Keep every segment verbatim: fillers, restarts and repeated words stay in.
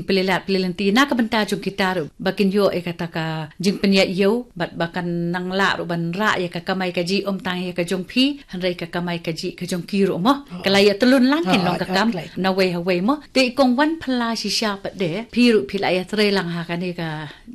pli lad pli lynti na ka bynta jong kita ruh ba kin ïoh ïa kata ka jingpynïaid ïew bad ba kan nang lah ruh ban rah ïa ka kamai kajih, ym tang ïa ka jong phi hynrei ka kamai kajih ka jong ki ruh mo. Ka la ïa tylun lang kin long ka kam na wei ha wei mo. Te i kong Wanphala shisha pat de phi ruh phi la ïa trei lang ha kane ka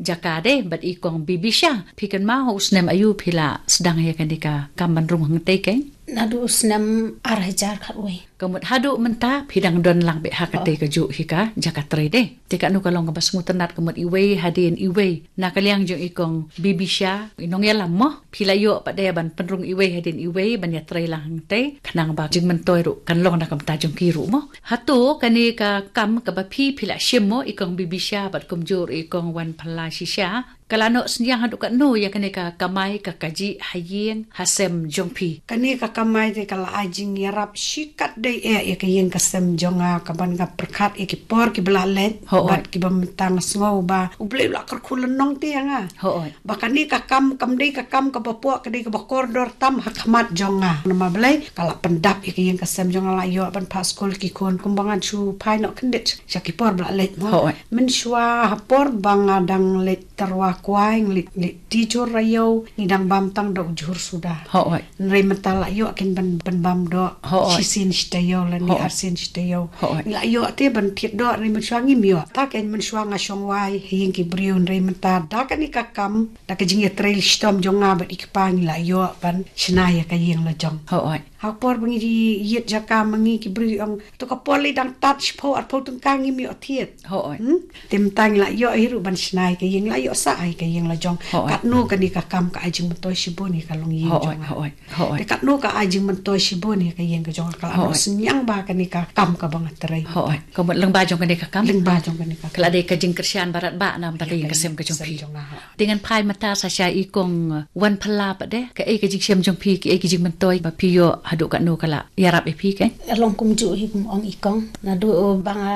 jaka de bad i kong Bibisha. Phi kynmaw ha u snem aïu phi la sdang ïa kane ka kam ban rung hangtei keiñ? Naduh u snem ar hajar khatwei. Ka mut haduh mynta phi dang don lang beit ha katei kajuh hi ka jaka trei de. Te katno ka long kaba sngewtynnat ka mut iwei hadien iwei. Na ka liang jong i kong Bibisha, i nongïalam mo. Phi la ïoh pat de ban pynrung iwei hadien iwei ban ïa trei lang hangtei. Khnang ba jingmyntoi ruh kan long na ka bynta jong ki ruh mo. Hato kane ka kam kaba phi phi la shim mo i kong Bibisha bad kumjuh ruh i kong Wanphala shisha. Ka la noh synñiang haduh katno ïa kane ka kamai ka kajih ha ïing ha sem jong phi? Kane ka kamai te ka la ai jingïarap shikatdei eh ïa ka ïing ka sem jong nga, kaban nga pyrkhat ïa ki por kiba la leit. Hooid. Bad kiba mynta nga sngew ba U Blei u la kyrkhu lynnong te ïa nga. Hooid. Ba kane ka kam kam dei ka kam kaba poh, ka dei kaba kordor tam ha khmat jong nga. Namar balei? Ka la pyndap ïa ka ïing ka sem jong nga, la ïoh ban phah skul ki khun kumba ngan shu phai noh kyndit sha ki por ba la leit mo. Hooid. Mynshuwa ha por ba nga dang leit tyrwa kwai, nga leit, leit tijur ïew, ngi dang bam tang da u jhur suda. Hooid. Hynrei mynta la ïoh kin ban, ban bam doh. Hooid. Shisien shi taïew lane arsien shi taïew. Hooid. Ngi la ïoh te ban thied doh, hynrei mynshuwa ngim ïoh. Ta keiñ mynshuwa nga shong wai ha ïing ki briew, hynrei mynta da kane ka kam, da ka jingïatrei shitom jong nga bad i kpa ngi la ïoh ban shna ïa ka ïing la jong. Hooid. Ha por ba ngi ïit jaka ma ngi ki briew ong, to ka por lei dang tad shiphew arphew tyngka ngim ïoh thied. Hooid. Hmm? Te mynta ngi la ïoh hi ruh ban shna ïa ka ïing, la ïoh sah ïa ka ïing la jong. Hooid. Katno kane ka kam ka ai jingmyntoi shibun ïa ka longïing jong nga. Hooid. Hooid. Te katno ka ai jingmyntoi shibun ïa ka ïing ka jong nga, ka la noh synñiang ba kane ka kam kaba nga trei. Hooid. Ka mut lyngba jong kane ka kam? Lyngba jong kane ka kam. Ka la dei ka jingkyrshan ba radbah na ka bynta ka ïing ka sem ka jong phi. Jong nga, hooid. Te ngan phai mynta sa sha i kong Wanphala pat de, kaei ka jingshem jong phi, kaei ka jingmyntoi ba phi ïoh haduh katno ka la ïarap ïa phi keiñ? Ka long kumjuh hi kum ong i kong. Naduh ba nga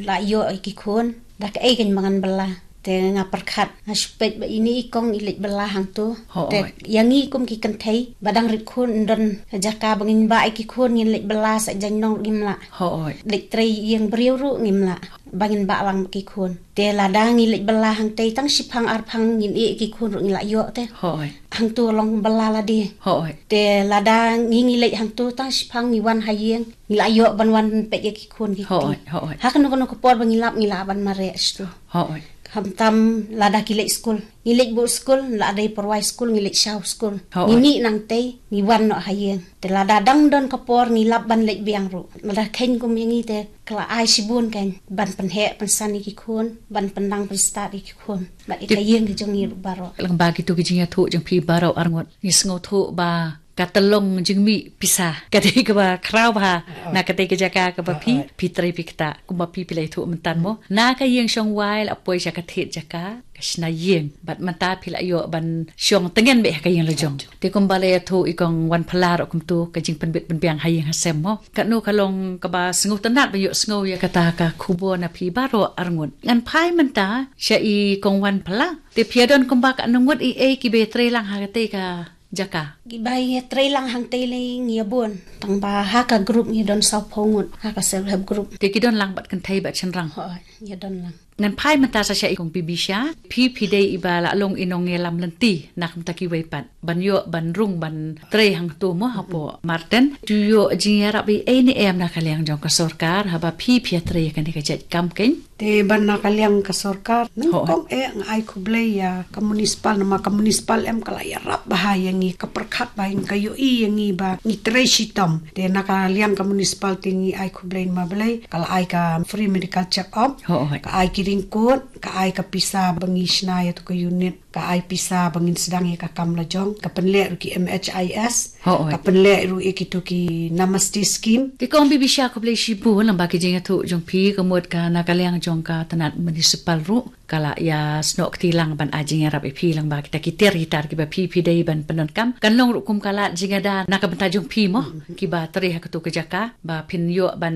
la ïoh ïa ki khun, da kaei keiñ ba ngan bylla. Te nga pyrkhat, nga shu peit ba ine i kong i leit bylla hangto. Hooid. Te ïa ngi kum ki kynthei ba dang rit khun, don ka jaka ba ngin bah ïa ki khun, ngin leit bylla sa jaiñ nong ruh ngim lah. Hooid. Leit trei ïing briew ruh ngim lah. Ba ngin bah lang bad ki khun. Te lada ngi leit bylla hangtei tang shiphang arphang ngin ïeh ïa ki khun ruh ngi la ïoh te. Hooid. Hangto long bylla lade. Hooid. Te lada ngi, ngi leit hangto tang shiphang ngi wan ha ïing, ngi la ïoh ban wan peit ïa ki khun ki kti. Hooid, hooid. Ha kano kano ka por ba ngi lap ngi lah ban mareh shatu. Hooid. Khamtam lada ki leit skul. Ngi leit buh skul, la dei pyrwai skul, ngi leit shaw skul. Hooid. Ngi mih nangtei, ngi wan noh ha ïing. Te lada dang don ka por ngi lap ban leit biang ruh. Lada kheiñ kum ïa ngi te ka la ai shibun keiñ ban pynheh pynsan ïa ki khun, ban pyndang pynstad ïa ki khun. Bad ïa ka ïing ka jong ngi ruh baroh. Lyngba kito ki jingïathuh jong phi baroh arngut, ngi sngewthuh ba ka tyllong jingmih pisa ka dei kaba khraw bha. Hooid. Na katei ka jaka kaba phi, hooid, phi trei phi ktah kumba phi, phi la ïathuh mynta mo. Na ka ïing shong wai la poi sha ka thied jaka, ka shna ïing. Bad mynta phi la ïoh ban shong tngen beit ha ka ïing la jong. Te kumba la ïathuh i kong Wanphala ruh kumto, ka jingpynbit pynbiang ha ïing ha sem mo. Katno ka long kaba sngewtynnat ban ïohsngew ïa kata ka khubor na phi baroh arngut. Ngan phai mynta sha i kong Wanphala. Te phi ïa don kumba katno ngut i ei kiba ïatrei lang ha katei ka jaka? Kiba ïatrei lang hangtei lei ngi ïa bun. Tang ba ha ka group ngi don sawphew ngut, ha ka self help group. Te ki don lang bad kynthei bad shynrang? Hooid, ngi ïa don lang. Ngan phai mynta sa sha i kong Bibisha, phi phi dei iba la long i nongïalam lynti na ka bynta kiwei pat. Ban ïoh ban rung ban trei hangto mo hapoh Marten. To ïoh jingïarap ei ei ne em na ka liang jong ka sorkar haba phi phi ïatrei ïa kane ka jait kam keiñ? Te ban na ka liang ka sorkar, hooid, nyngkong eh nga ai khublei ïa ka municipal, namar ka municipal em ka la ïarap bha ïa ngi, ka pyrkhat bha ïa ngi, ka ïohi ïa ngi ba ngi trei shitom. Te na ka liang ka municipal te ngi ai khublei namar balei, ka la ai ka free medical check up, hooid, ka ai ki raincoat, ka ai ka pisa ba ngi shna ïa tu ka unit, ka ai pisa ba ngin sdang ïa ka kam la jong, ka pynleh ruh ki M H I S, hooid, ka pynleh ruh ïa kito ki Namaste scheme. Te kong Bibisha khublei shibun lyngba ki jingïathuh jong phi, ka mut ka na ka liang jong ka tnat municipal ruh ka la ïa snoh kti lang ban ai jingïarap ïa phi lyngba kita ki tiar ki tar kiba phi phi dei ban pyndonkam. Kan long ruh kum ka lad jingada na ka bynta jong phi mo, kiba trei ha kato ka jaka ba phin ïoh ban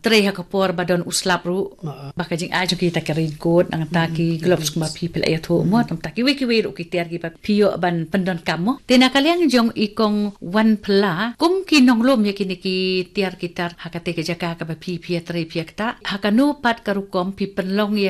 trei ha ka por ba don u slap ruh. Ba ka jingai jong kita ki raincoat, nangta ki gloves kumba phi phi la ïathuh mo, nangta kiwei kiwei ruh ki tiar kiba phi ïoh ban pyndonkam mo. Te na ka liang jong i kong Wanphala, kum ki nonglum ïa kine ki tiar ki tar ha katei ka jaka kaba phi phi ïatrei phi ïa ktah, ha kano pat ka rukom phi pynlong ïa